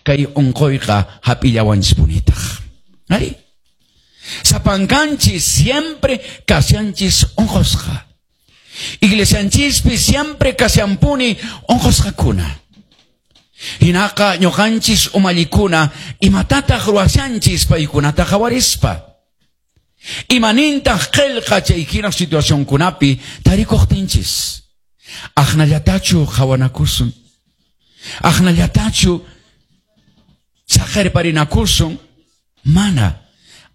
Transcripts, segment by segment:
kay unquyqa hap'illawanchispunitaq. Ari? Sapankanchis siempre kashanchis unqusqa. Iglesianchispi siempre kashanpuni unqusqakuna. Hinaqa ñuqanchis umallikuna imatataq ruwashanchis paykunata qhawarispa. Imanintaq qillqa chay hina situacionkunapi tarikuqtinchis. Aqnallatachu qhawanakusun. Aqnallatachu saqerparinakusun. Mana.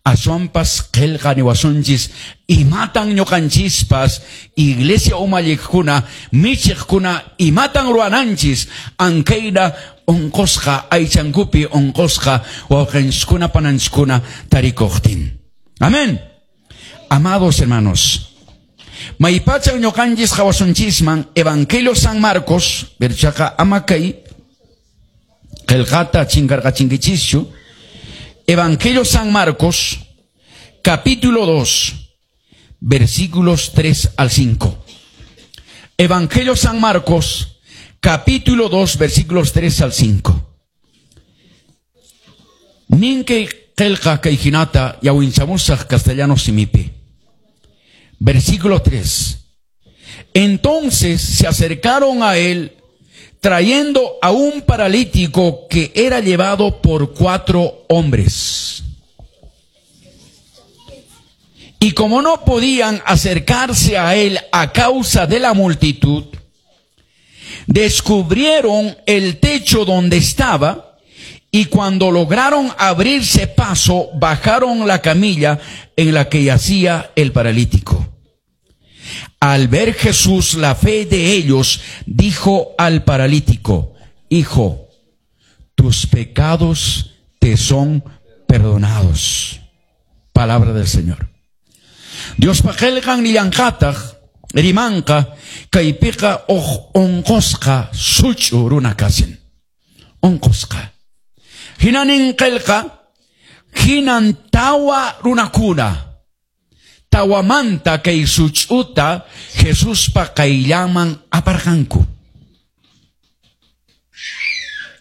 Aswanpas qillqa niwasunchis imatan ñuqanchispas iglesia umalliqkuna michiqkuna imatan ruwananchis ankayna unqusqa aychankupi unqusqa wawqinchiskuna pananchiskuna tarikuqtin. Amén. Amados hermanos, maypachan ñuqanchis qhawasunchisman Evangelio San Marcos, berchaqa ama kay qillqata chinkarqachinkichischu. Evangelio San Marcos, capítulo 2, versículos 3 al 5. Evangelio San Marcos, capítulo 2, versículos 3 al 5. Ninkay qillqa kay hinata yawinchamusaq castellano simipi. Versículo 3. Entonces se acercaron a él trayendo a un paralítico que era llevado por 4 hombres. Y como no podían acercarse a él a causa de la multitud, descubrieron el techo donde estaba, y cuando lograron abrirse paso, bajaron la camilla en la que yacía el paralítico. Al ver Jesús la fe de ellos, dijo al paralítico: Hijo, tus pecados te son perdonados. Palabra del Señor. Dios paqelqan nillanqataq, rimanqa, kaypiqa uq unqusqa such'u runa kasin. Unqusqa. Hinanin qillqa, hinan tawa runakuna. Tawamanta kay such'uta Jesuspa qayllanman aparqanku.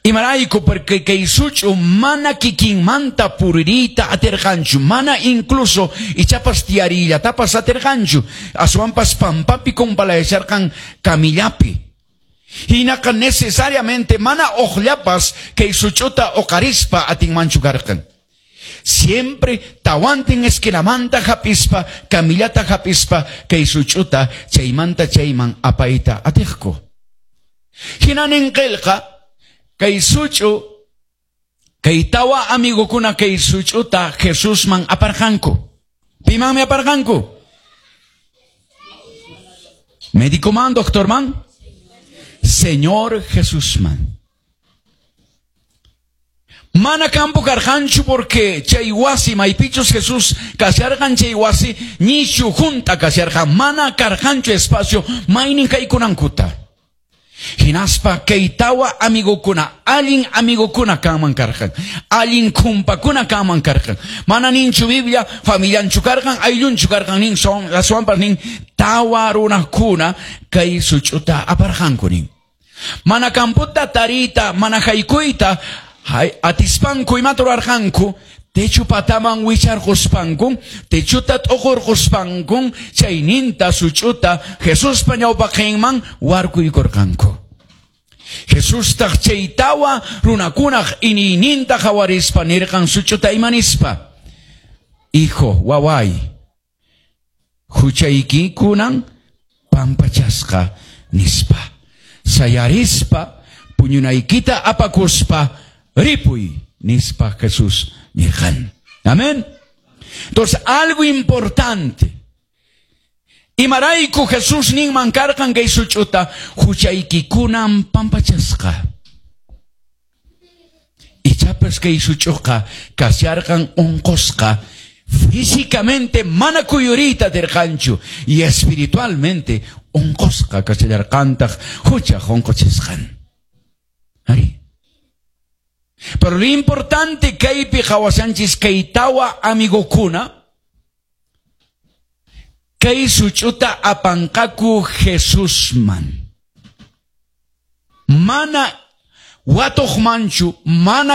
Imarayku, porque kay such'u mana kikinmanta puririyta atirqanchu, mana incluso ichapas tiyariyllatapas atirqanchu, aswanpas pampapi kumpalayasharqan camillapi. Hinaqa necesariamente mana uqllapas kay such'uta uqarispa atinmanchu karqan. Siempre tawantin esquinamanta hapispa, camillata hapispa, kay such'uta chaymanta chayman apayta atiqku. Hinanin qillqa, kay such'u, kay tawa amigokuna kay such'uta Jesusman aparqanku. Pimanmi aparqanku? Médico man, doctor man? Señor Jesusman. Mana campo karqanchu porque chay wasi maypichus Jesús kasharqan chay wasi nishu junta kasharqan mana karqanchu espacio maynin kaykunankuta. Hinaspa kay tawa amigokuna allin amigokuna kanman karqan, allin kumpakuna kanman karqan. Mana ninchu Biblia familianchu karqan, ayllunchu karqan nin son aswanpas nin tawa runakuna kay such'uta aparqanku nin. Mana camputa tarita, mana haykuyta hay atispanku imata ruwarqanku, techu pataman wicharquspanku, techuta t'uqurquspanku, chayninta such'uta Jesuspa ñawpaqinman warkuykurqanku. Jesustaq chay tawa runakunaq iniyninta qhawarispa nirqan such'uta imanispa: Hijo, waway, huchaykikunan pampachasqa nispa. Sayarispa, puñunaykita apakuspa, ripuy, nispa Jesús nirqan. Amén. Entonces, algo importante. Imarayku Jesús ninman karqan kay such'uta huchaykikunan pampachasqa. Ichapas kay such'uqa kasharqan unqusqa, físicamente mana kuyuriyta atirqanchu y espiritualmente unqusqa kashallarqantaq huchaq unquchisqan. Ari. Pero lo importante kaypi qhawashanchis kay tawa amigokuna kay such'uta apanqaku Jesusman. Mana watuqmanchu, mana